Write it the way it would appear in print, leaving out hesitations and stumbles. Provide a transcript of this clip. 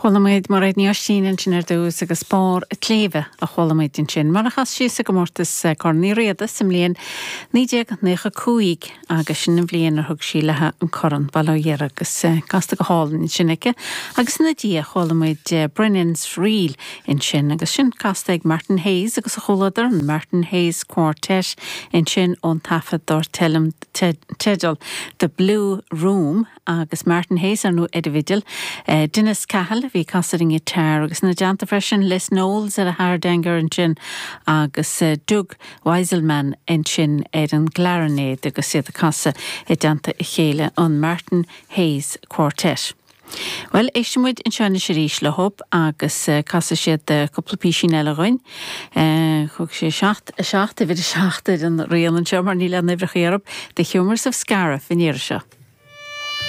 Chuala muid Mairéad Ní Oistín ansin ar dtús agus Barr a' tSléibhe a chuala muid ansin, mar a chas sí sa gcomórtas Corn Uí Riada sa mbliain 1995 agus sin an bhliain ar thug sí léi an corn, bail ó Dhia uirthi, agus casta go hálainn ansin aici. Agus ina diaidh chuala muid Brennan's Reel ansin agus sin casta ag Martin Hayes agus a chomhluadar, an Martin Hayes Quartet ansin ón taifead dar teideal The Blue Room. agus Martin Hayes ar ndóigh ar an bhfidil, Denis Cahill a bhí ag casadh ar an ngiotár agus ina dteannta freisin Les Knowles ar an hardanger ansin agus Doug Weiselman ansin ar an gclairinéad agus iad ag casadh i dteannta a chéile, an Martin Hayes Quartet. Bhuel, éistfidh muid anseo anois arís leo agus casfaidh siad cúpla písín eile dhuinn. Thug sé 7, 7, uimhir 7 ar an rian anseo mar níl aon uimhreacha orthu, The Humours of Scariff an iarraidh seo.